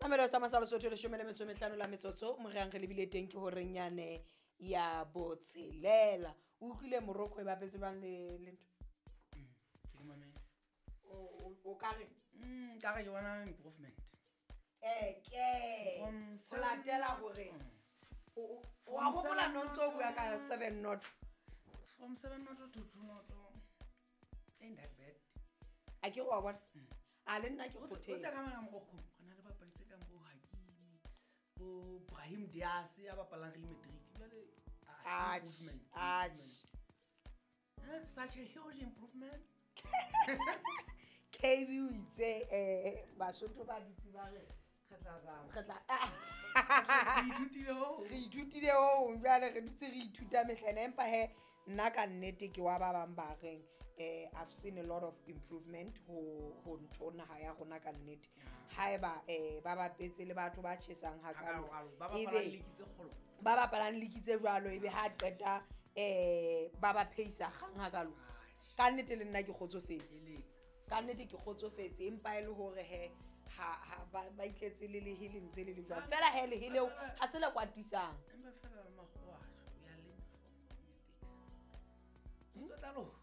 Semamelo sa Masalo Sotho, 15 la metsotso moreang re lebile teng ke horeng yane ya botshelela. O utlwile Morocco e bapetse bang le ntho? Ke di mametse. O ka re? Ka re ke bona improvement. Ke From ho seven latela hore wa From hopola seven no ntso o bua noto. ka 7-0. From 7-0 to 2-0. Ain't that bad. A ke re wa bona? A le nna ke O tse kgothetse. ka mona Morocco, go na le bapadi tse kang bo Hakimi, bo Brahim Diaz ya bapalang Real Madrid. Jwale, Atjhe, improvement, atjhe. improvement. Such a huge improvement. KB o itse Basotho ba dutse ba re Re tla zama. re tla Re ithutile ho. Re ithutile ho jwale re dutse re ithuta mehlena, empa he nna ka nnete ke wa ba bang ba reng I've seen a lot of improvement ho ntho naha ya rona ka nnete. Haeba ba bapetse le batho ba tjhesang hakalo, Hakalo, ba ebe bapalang league tse kgolo. Ba bapalang league tse jwalo, ebe ha qeta ba ba pheisa kgang hakalo. Ka nnete le nna ke kgotsofetse. Ele. Ka nnete ke kgotsofetse, empa e le hore he ha ba itletse le lehe le ntse le le jwalo. Fela he lehe leo ha se le kwatisang. Empa fela le makgowa a tjho, we are learning from our mistakes. Ntho tla loka.